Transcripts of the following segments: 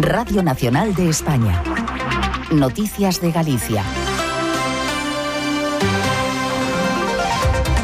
Radio Nacional de España. Noticias de Galicia.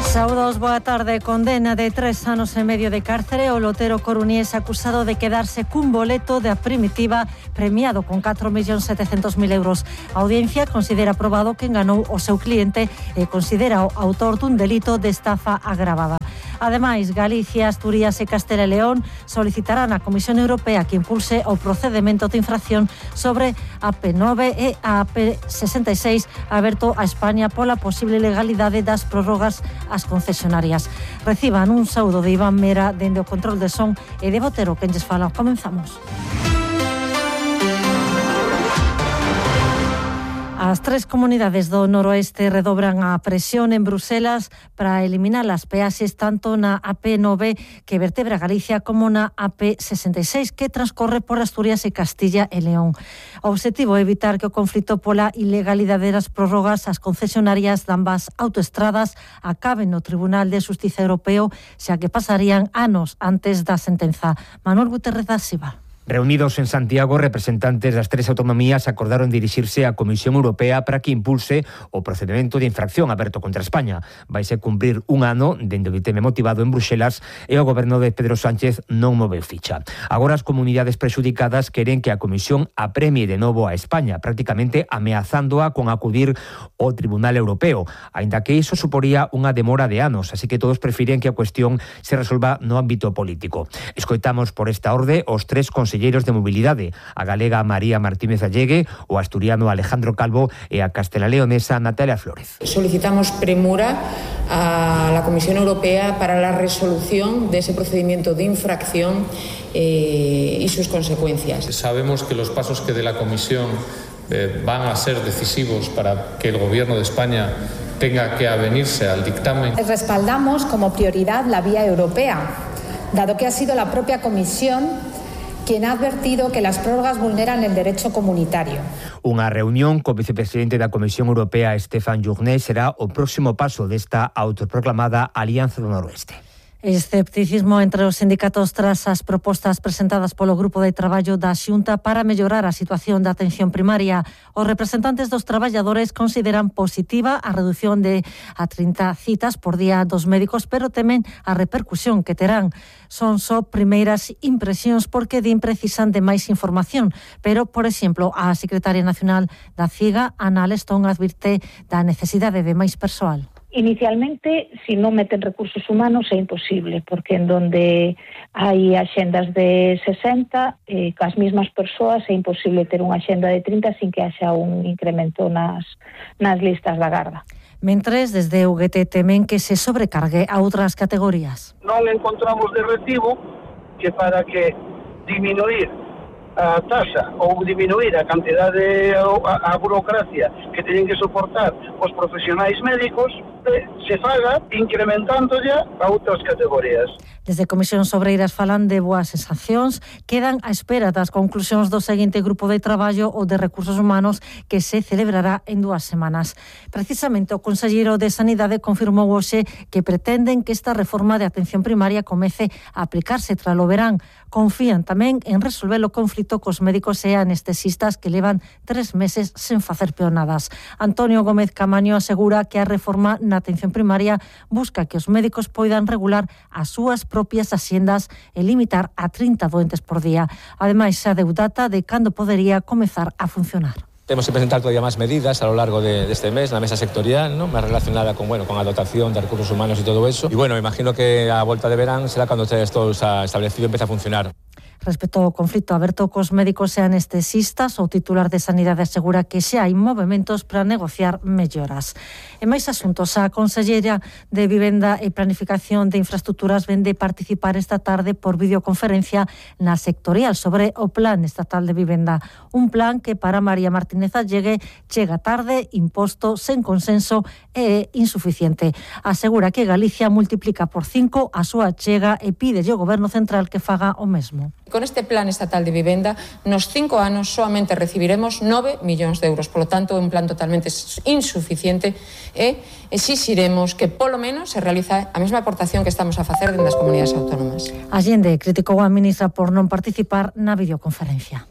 Saúdos, boa tarde. Condena de 3 anos e medio de cárcere o lotero coruñés acusado de quedarse cun boleto da Primitiva premiado con 4.700.000 euros. A audiencia considera probado que enganou o seu cliente e considera o autor dun delito de estafa agravada. Ademais, Galicia, Asturias e Castela e León solicitarán á Comisión Europea que impulse o procedemento de infracción sobre a AP9 e a AP66 aberto a España pola posible legalidade das prórrogas ás concesionarias. Reciban un saúdo de Iván Mera dende o control de son e de Botero que lles fala. Comenzamos. As 3 comunidades do noroeste redobran a presión en Bruselas para eliminar as peaxes tanto na AP9 que vertebra Galicia como na AP66 que transcorre por Asturias e Castilla e León. O obxectivo é evitar que o conflito pola ilegalidade das prórrogas ás concesionarias de ambas autoestradas acaben no Tribunal de Xustiza Europeo, xa que pasarían anos antes da sentenza. Manuel Guterres da Silva. Reunidos en Santiago, representantes das 3 autonomías acordaron dirixirse á Comisión Europea para que impulse o procedemento de infracción aberto contra España. Vaise cumprir un ano dende o ditame motivado en Bruxelas e o goberno de Pedro Sánchez non moveu ficha. Agora as comunidades prexudicadas queren que a Comisión apremie de novo a España, prácticamente ameazándoa con acudir ao Tribunal Europeo, aínda que iso suporía unha demora de anos, así que todos prefiren que a cuestión se resolva no ámbito político. Escoitamos por esta orde os 3 conselleiros de mobilidade, a galega María Martínez Allegue, o asturiano Alejandro Calvo e a castelaleonesa Natalia Flórez. Solicitamos premura a la Comisión Europea para la resolución de ese procedimiento de infracción y sus consecuencias. Sabemos que los pasos que dé la Comisión van a ser decisivos para que el Gobierno de España tenga que avenirse al dictamen. Respaldamos como prioridad la vía europea, dado que ha sido la propia Comisión quien ha advertido que las prórrogas vulneran el derecho comunitario. Unha reunión co vicepresidente da Comisión Europea, Stéphane Journet, será o próximo paso desta autoproclamada Alianza do Noroeste. Escepticismo entre os sindicatos tras as propostas presentadas polo Grupo de Traballo da Xunta para mellorar a situación da atención primaria. Os representantes dos traballadores consideran positiva a redución de a 30 citas por día dos médicos, pero temen a repercusión que terán. Son só primeiras impresións porque din precisan de máis información, pero, por exemplo, a secretaria nacional da CIGA, Ana Alestón, advirte da necesidade de máis persoal. Inicialmente, si non meten recursos humanos é imposible, porque en donde hai axendas de 60, cas mesmas persoas é imposible ter unha axenda de 30 sin que haxa un incremento nas listas da garda. Mentres, desde UGT temen que se sobrecargue a outras categorías. Non encontramos de recibo que para que diminuir a taxa ou diminuir a cantidade, a burocracia que teñen que soportar os profesionais médicos, se faga incrementando ya a outras categorías. Desde Comisións Obreiras falan de boas sensacións, quedan á espera das conclusións do seguinte grupo de traballo ou de recursos humanos que se celebrará en 2 semanas. Precisamente o conselleiro de Sanidade confirmou hoxe que pretenden que esta reforma de atención primaria comece a aplicarse tras o verán. Confían tamén en resolver o conflito cos médicos e anestesistas que levan 3 meses sen facer peonadas. Antonio Gómez Camaño asegura que a reforma na atención primaria busca que os médicos poidan regular as súas propias axendas e limitar a 30 doentes por día. Ademais, xa deu data de cando podería comezar a funcionar. Temos que presentar todavía máis medidas a lo largo deste mes na mesa sectorial, ¿no? Máis relacionada con a dotación de recursos humanos e todo eso. E imagino que a volta de verán será cando ustedes todos establecido empieza a funcionar. Respecto ao conflito aberto cos médicos e anestesistas, o titular de Sanidade asegura que xa hai movementos para negociar melloras. E máis asuntos, a conselleira de Vivenda e Planificación de Infraestructuras vende participar esta tarde por videoconferencia na sectorial sobre o Plan Estatal de Vivenda. Un plan que para María Martínez Allegue chega tarde, imposto, sen consenso e insuficiente. Asegura que Galicia multiplica por 5 a súa chega e pide ao Goberno Central que faga o mesmo. Con este Plan Estatal de Vivenda, nos 5 anos solamente recibiremos 9 millóns de euros. Por lo tanto, un plan totalmente insuficiente e exixiremos que, polo menos, se realiza a mesma aportación que estamos a facer dentro das comunidades autónomas. Allende criticou a ministra por non participar na videoconferencia.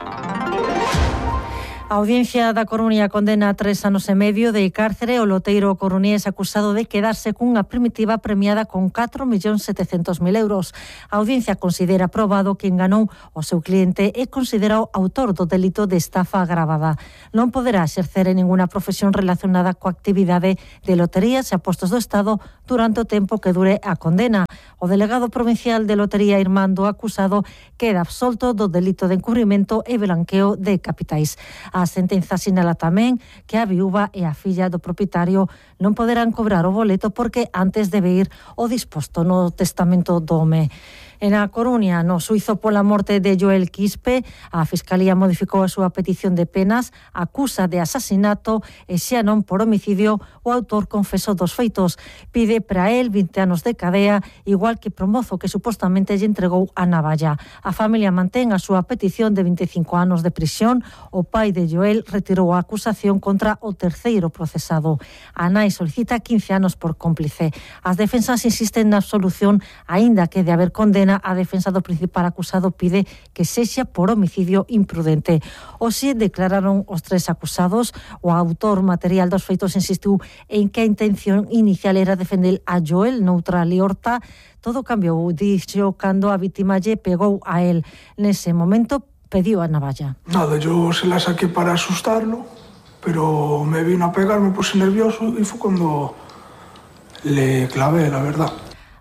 A Audiencia da Coruña condena a 3 anos e medio de cárcere o loteiro coruñés acusado de quedarse cunha primitiva premiada con 4.700.000 euros. A Audiencia considera probado que enganou o seu cliente e considera o autor do delito de estafa agravada. Non poderá exercer en ninguna profesión relacionada coa actividade de loterías e apostos do Estado durante o tempo que dure a condena. O delegado provincial de lotería Irmando acusado queda absolto do delito de encubrimento e blanqueo de capitais. A sentenza sinala tamén que a viúva e a filla do propietario non poderán cobrar o boleto porque antes debe ir o disposto no testamento do home. En A Coruña, no suizo pola morte de Joel Quispe, a Fiscalía modificou a súa petición de penas, acusa de asasinato e xa non por homicidio o autor confeso dos feitos. Pide para él 20 anos de cadea, igual que pro mozo que supostamente lle entregou a navalla. A familia mantén a súa petición de 25 anos de prisión. O pai de Joel retirou a acusación contra o terceiro procesado. A nai solicita 15 anos por cómplice. As defensas insisten na absolución, aínda que de haber condena, a defensa do principal acusado pide que sexa por homicidio imprudente. Hoxe declararon os 3 acusados. O autor material dos feitos insistiu en que a intención inicial era defender a Joel noutra liorta. Todo cambiou, dixo, cando a vítima lle pegou a él. Nese momento pediu a navalla. Nada, yo se la saqué para asustarlo, pero me vino a pegar, me puse nervioso y fue cuando le clavé, la verdad.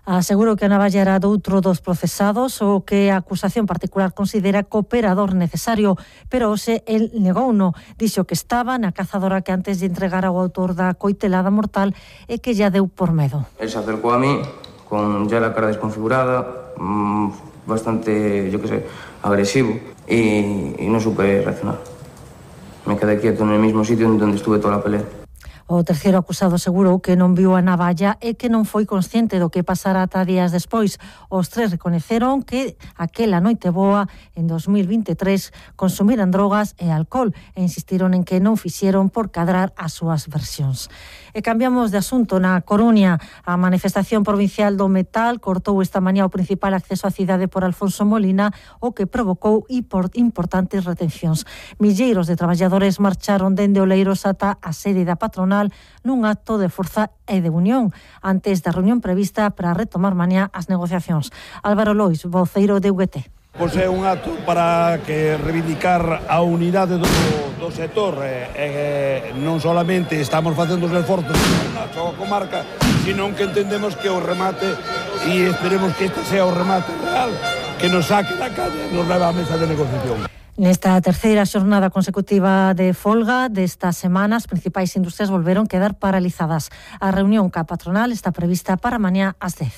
Asegurou que a navalla era doutro dos procesados, o que a acusación particular considera cooperador necesario, pero hoxe el negouno. Dixo que estaba na cazadora que antes de entregar ao autor da coitelada mortal e que ya deu por medo. Él se acercó a mí con ya la cara desconfigurada, bastante, yo qué sé, agresivo, y no supe reaccionar. Me quedé quieto en el mismo sitio en donde estuve toda la pelea. O terceiro acusado asegurou que non viu a navalla e que non foi consciente do que pasara ata días despois. Os 3 recoñeceron que aquela noite boa en 2023 consumiran drogas e alcohol e insistiron en que non fixeron por cadrar as súas versións. E cambiamos de asunto. Na Coruña, a manifestación provincial do metal cortou esta mañá o principal acceso á cidade por Alfonso Molina, o que provocou importantes retencións. Milleiros de traballadores marcharon dende Oleiros ata a sede da patronal nun acto de forza e de unión antes da reunión prevista para retomar mañá as negociacións. Álvaro Lois, voceiro de UGT. Pois é un acto para que reivindicar a unidade do sector. Non solamente estamos facendo os esforzos na súa comarca, sino que entendemos que o remate, e esperemos que este sea o remate real, que nos saque da calle e nos leva á mesa de negociación. Nesta terceira xornada consecutiva de folga destas semanas, as principais industrias volveron quedar paralizadas. A reunión ca patronal está prevista para mañá ás 10.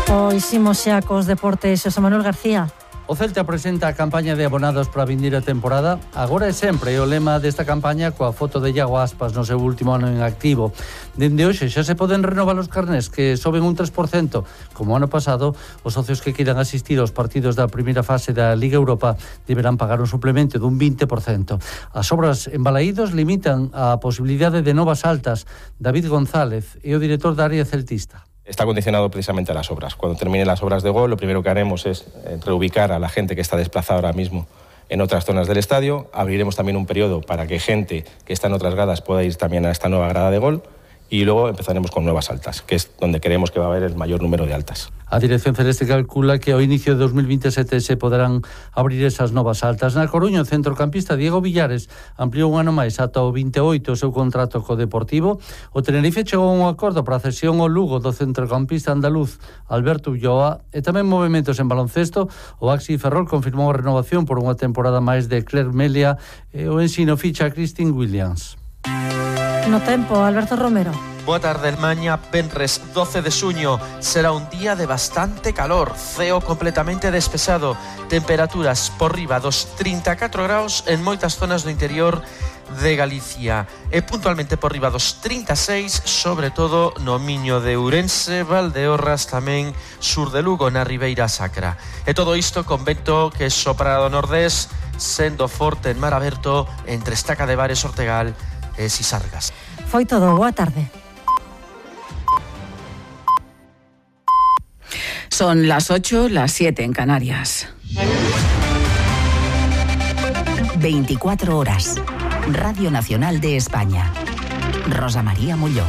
Pois imos xa cos deportes, Xosé Manuel García. O Celta presenta a campaña de abonados para a vindeira temporada. Agora é sempre o lema desta campaña coa foto de Iago Aspas no seu último ano en activo. Dende hoxe xa se poden renovar os carnés que soben un 3%. Como ano pasado, os socios que queiran asistir aos partidos da primeira fase da Liga Europa deberán pagar un suplemento dun 20%. As obras en Balaídos limitan a posibilidade de novas altas. David González é o director da área celtista. Está condicionado precisamente a las obras. Cuando terminen las obras de gol, lo primero que haremos es reubicar a la gente que está desplazada ahora mismo en otras zonas del estadio. Abriremos también un periodo para que gente que está en otras gradas pueda ir también a esta nueva grada de gol. Y luego empezaremos con nuevas altas, que es donde creemos que va a haber el mayor número de altas. A Dirección Celeste calcula que ao inicio de 2027 se poderán abrir esas novas altas. Na Coruña, o centrocampista Diego Villares ampliou un ano máis ata o 28 o seu contrato co Deportivo. O Tenerife chegou a un acordo para a cesión ao Lugo do centrocampista andaluz Alberto Ulloa, e tamén movementos en baloncesto. O Axi Ferrol confirmou a renovación por unha temporada máis de Claire Melia e o Ensino ficha a Christine Williams. No tempo, Alberto Romero. Boa tarde, mañá venres 12 de xuño será un día de bastante calor, ceo completamente despexado, temperaturas por riba dos 34 graus en moitas zonas do interior de Galicia e puntualmente por riba dos 36, sobre todo no Miño de Ourense, Valdeorras, tamén sur de Lugo, na Ribeira Sacra. E todo isto con vento que sopra do nordés, sendo forte en mar aberto entre Estaca de Bares, Ortegal e Sisargas. Foi todo, boa tarde. Son las 8, las 7 en Canarias. 24 horas. Radio Nacional de España. Rosa María Molló.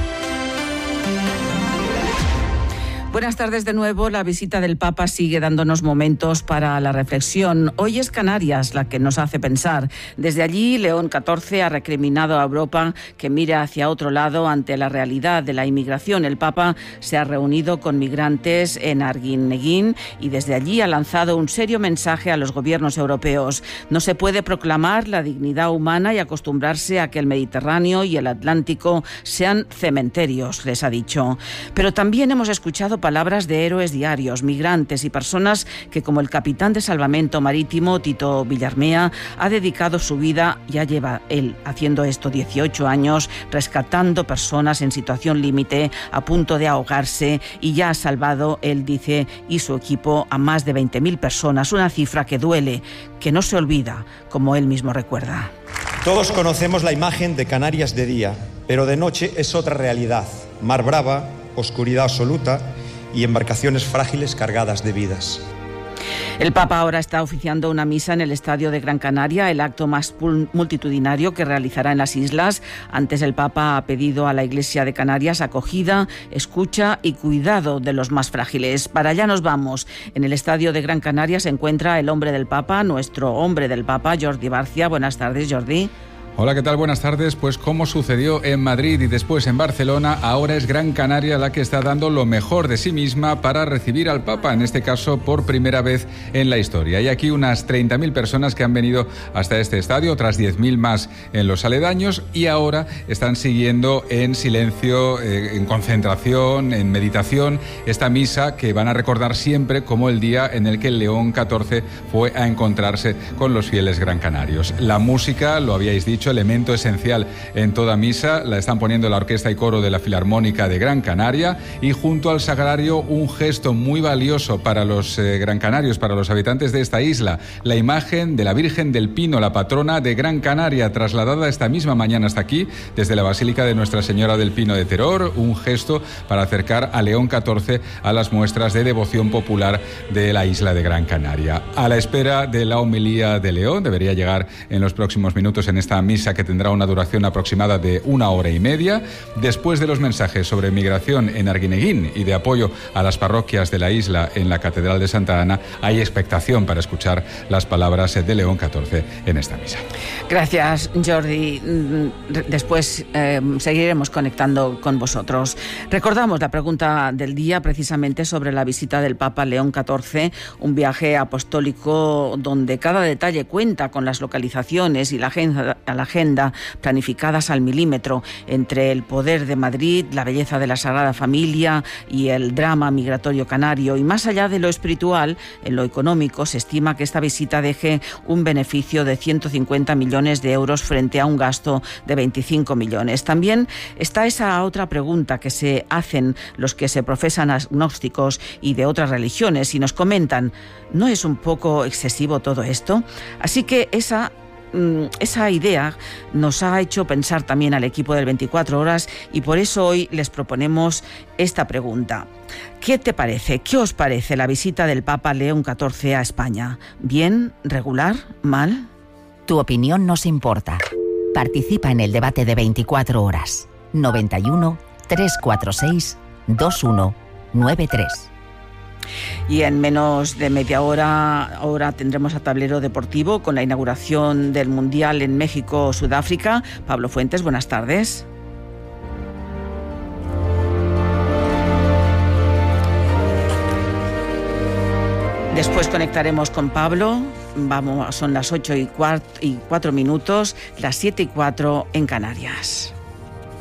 Buenas tardes de nuevo. La visita del Papa sigue dándonos momentos para la reflexión. Hoy es Canarias la que nos hace pensar. Desde allí, León XIV ha recriminado a Europa que mire hacia otro lado ante la realidad de la inmigración. El Papa se ha reunido con migrantes en Arguineguín y desde allí ha lanzado un serio mensaje a los gobiernos europeos. No se puede proclamar la dignidad humana y acostumbrarse a que el Mediterráneo y el Atlántico sean cementerios, les ha dicho. Pero también hemos escuchado palabras de héroes diarios, migrantes y personas que, como el capitán de salvamento marítimo Tito Villarmea, ha dedicado su vida, ya lleva él haciendo esto 18 años, rescatando personas en situación límite, a punto de ahogarse, y ya ha salvado, él dice, y su equipo, a más de 20.000 personas, una cifra que duele, que no se olvida, como él mismo recuerda. Todos conocemos la imagen de Canarias de día, pero de noche es otra realidad. Mar brava, oscuridad absoluta y embarcaciones frágiles cargadas de vidas. El Papa ahora está oficiando una misa en el Estadio de Gran Canaria, el acto más multitudinario que realizará en las islas. Antes el Papa ha pedido a la Iglesia de Canarias acogida, escucha y cuidado de los más frágiles. Para allá nos vamos. En el Estadio de Gran Canaria se encuentra el hombre del Papa, nuestro hombre del Papa, Jordi Barcia. Buenas tardes, Jordi. Hola, ¿qué tal? Buenas tardes. Pues como sucedió en Madrid y después en Barcelona, ahora es Gran Canaria la que está dando lo mejor de sí misma para recibir al Papa, en este caso por primera vez en la historia. Hay aquí unas 30.000 personas que han venido hasta este estadio, otras 10.000 más en los aledaños, y ahora están siguiendo en silencio, en concentración, en meditación, esta misa que van a recordar siempre como el día en el que León XIV fue a encontrarse con los fieles gran canarios. La música, lo habíais dicho, elemento esencial en toda misa, la están poniendo la orquesta y coro de la Filarmónica de Gran Canaria, y junto al sagrario un gesto muy valioso para los gran canarios, para los habitantes de esta isla, la imagen de la Virgen del Pino, la patrona de Gran Canaria, trasladada esta misma mañana hasta aquí desde la Basílica de Nuestra Señora del Pino de Teror, un gesto para acercar a León XIV a las muestras de devoción popular de la isla de Gran Canaria. A la espera de la homilía de León, debería llegar en los próximos minutos en esta misa que tendrá una duración aproximada de 1 hora y media. Después de los mensajes sobre migración en Arguineguín y de apoyo a las parroquias de la isla en la Catedral de Santa Ana, hay expectación para escuchar las palabras de León XIV en esta misa. Gracias, Jordi. Después seguiremos conectando con vosotros. Recordamos la pregunta del día, precisamente sobre la visita del Papa León XIV, un viaje apostólico donde cada detalle cuenta con las localizaciones y la agenda planificadas al milímetro, entre el poder de Madrid, la belleza de la Sagrada Familia y el drama migratorio canario. Y más allá de lo espiritual, en lo económico, se estima que esta visita deje un beneficio de 150 millones de euros frente a un gasto de 25 millones. También está esa otra pregunta que se hacen los que se profesan agnósticos y de otras religiones y nos comentan, ¿no es un poco excesivo todo esto? Así que esa idea nos ha hecho pensar también al equipo del 24 horas y por eso hoy les proponemos esta pregunta. ¿Qué te parece? ¿Qué os parece la visita del Papa León XIV a España? ¿Bien? ¿Regular? ¿Mal? Tu opinión nos importa. Participa en el debate de 24 horas. 91 346 2193. Y en menos de media hora ahora tendremos a Tablero Deportivo con la inauguración del Mundial en México-Sudáfrica. Pablo Fuentes, buenas tardes. Después conectaremos con Pablo. Son las 8:04, las 7:04 en Canarias.